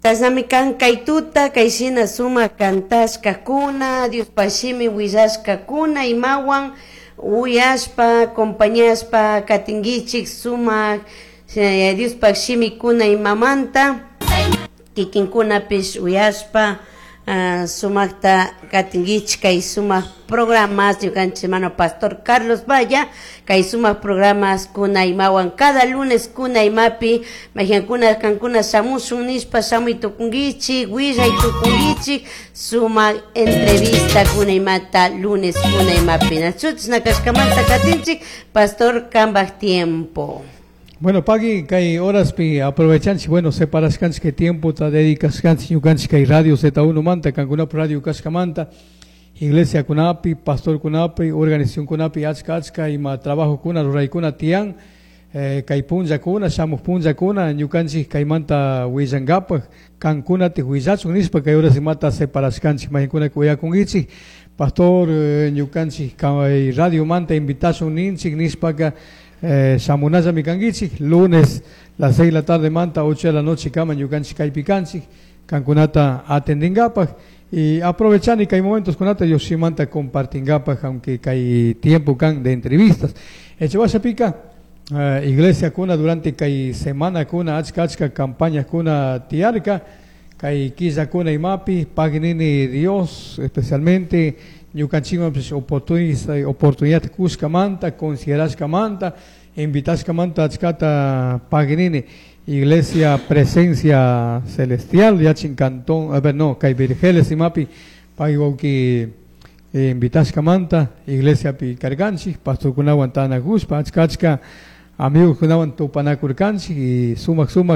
Chashnami kan kay tuta kay shina sumak kantashkakuna, Diospaj shimi willashkakuna, imawan uyashpa, acompañashpa katinkichik sumak Diospaj shimikuna imamanta kikinkunapish uyashpa, sumakta katinkichik kay sumak programas ñukanchik hermano pastor Carlos Valla kay sumak programas kuna imawan cada lunes kuna imapi mayjankuna kankuna shamushun nishpa shamuy tukunkichik, willay tukunkichik sumak entrevista kuna imata lunes kuna imapi. Nachu chashna kashkamanta katinchik, pastor, kambaj tiempo. Bueno, pagui kay horaspi aprovechanchik, bueno, separashkanchik kay tiempota dedicashkanchik ñukanchik kay radio Z1 manta, kankunapa radio kashkamanta, iglesia kunapi, pastor kunapi, organización kunapi achka achka ima trabajo kuna ruraykuna tiyan, kay punllakuna, shamuj punllakuna ñukanchik kaymanta willankapaj, kankunati willachun nishpa kay horas imata separashkanchik, maykunkuna uyakunkichik, pastor, ñukanchik kay radio manta invitashun ninchik nishpaka, shamunallami kankichik, lunes las 6 de la tarde manta 8 de la noche kama ñukanchik kaypi kanchik, kankunata atendingapaj y aprovechani kay momentos kunata Dioshimanta compartingapaj, aunque kay tiempo kan de entrevistas. Echewashapika, iglesia kuna durante kay semana kuna achka achka campaña kuna tiarka, kay killa kuna imapi paginini Dios especialmente ñukanchikman oportunidad kushkamanta, considerashkamanta, invitashkamanta achkata paginini Iglesia Presencia Celestial, yachin cantón, a ver, no, kay Virgeles imapi, pagwauki invitashkamanta, iglesia pi karganchik, pastor kunawan tanakushpa, achka achka amigos kunawan tupanakurkanchik y sumak sumak.